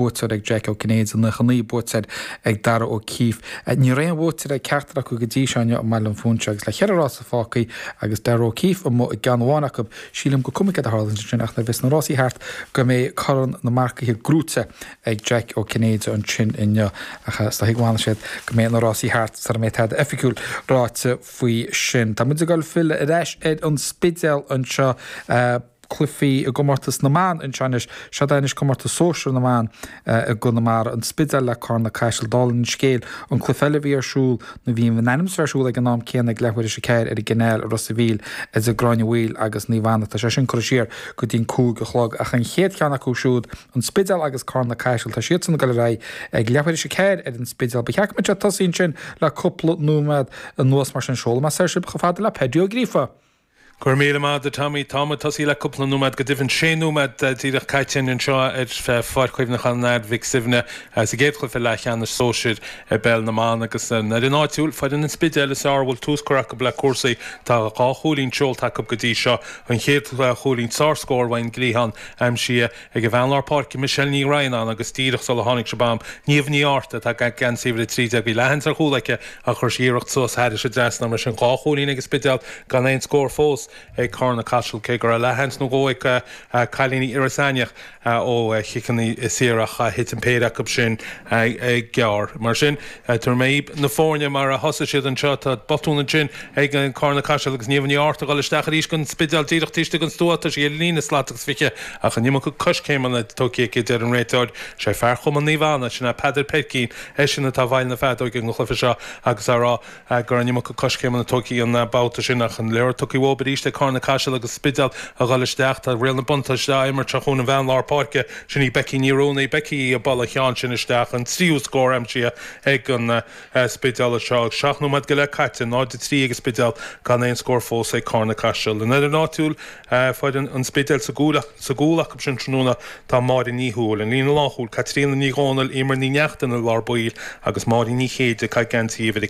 Buaiteoir ag Jack Ó Cinnéide, 99 buaiteoir ag Darragh O'Keeffe. Ní raibh aon bhuaiteoir ag ceachtar acu go dtí seo inniu i mBaile an Phúinse agus le cheithre rása fágtha agus Darragh O'Keeffe amuigh i gceann amháin acu, sílim gur cuma céard a tharlaíonn ansin ach nuair a bheas na rásaí thart go mbeidh corn na marcaithe gnóite ag Jack Ó Cinnéide ansin inniu. Ach is dóigh go bhfanfaidh siad go mbeidh na rásaí thart sara mbeidh tada oifigiúil ráite faoi sin. Tá muid ag dul filleadh ar ais ar an Spidéal anseo. Cluichí i gcomórtas na mban anseo anois. Seod é anois comórtas sóisir na mban i gConamara, an Spidéal le Carna Caiseal. Dála an scéil, an cluiche eile a bhí ar siúl, nó bhí in ainm is a bheith ar siúl ag an am céanna ag leathuair théis a ceathair ar an gCanáil i Ros a' Mhíl idir Gráinne Mhaoil agus Naomh Anna. Tá sé sin curtha siar go dtí an 5 a chlog. Ach an chéad cheann acu siúd, an Spidéal agus Carna Caiseal, tá siadsan ag dul ar aghaidh ag leathuair théis a ceathair ar an Spidéal. Ba cheart go mbeadh sé tosaithe ansin le cúpla nóiméad anuas mar sin. Seolfaidh mé soir sibh chomh fada le Paddy Ó Gríofa. Go raibh míle maith agat a Tommy. Tá muid tosaithe le cúpla nóiméad, go deimhin sé nóiméad díreach caite anseo ar Pháirc Chuimhneacháin Ard Mhic Suibhne sa gcéad chluiche leathcheannais sóisir i bpeil na mban agus an fhoireann áitiúil, foireann an Spidéil is fearr a bhfuil tús curtha acu le cúrsaí. Tá dhá chúilín seolta acu go dtí seo. An chéad chúilín, sárscór ón gcliathán aimsithe ag an bhean lár páirce Michelle Ní Dhroighneáin agus díreach sula tháinig sí bam, Niamh Ní Fhátharta atá ag geansaí uimhir 13, bhí leathsheans ar chúl aici ach chuir sí iarracht suas thairis an dtrasnán. Mar sin dhá chúilín ag an Spidéal gan aon scór fós ag Carna Caiseal cé go raibh leathsheans nó dhó ag cailíní Iorras Aithneach ó chiceanna saora ach thit an péire acu sin gearr. Mar sin, tabharfaidh mé na foirne mar a thosaigh siad anseo. Tá botún ansin ag Carna Caiseal agus Niamh Ní Fhátharta ag dul isteach arís don Spidéal díreach taobh istigh den stua. Tá sí ar líne slat agus 20 ach an iomarca coiscéimeanna tógtha aici, a deir an réiteoir. Sé fear Chumann Naomh Anna, sin é Peadar Peircín, eisean atá i bhfeighil na feadóige don chluiche seo agus á rá go raibh an iomarca coiscéimeanna tógtha an babhta sin ach an liathróid tugtha uathu arís ag Carna Caiseal agus Spidéal a dhul isteach. Tá riail na buntáiste á imirt seo chugainn an bhean lár páirce, sin í Becky Ní Ruanaí. Becky ag bualadh an cheann sin isteach, an tríú scór aimsithe ag an Spidéal anseo agus 7 nóiméad go leith caite, 0-3 ag an Spidéal gan aon scór fós ag Carna Caiseal. An fhoireann áitiúil, foireann an Spidéil sa gcúl, sa gcúl acu sin tráthnóna tá Máire Ní Thuathail, an líne lánchúil, Caitríona Ní Dhomhnaill, Emer Ní Neachtain i lár baill agus Máirín Ní Chéide ag caitheamh geansaí uimhir a.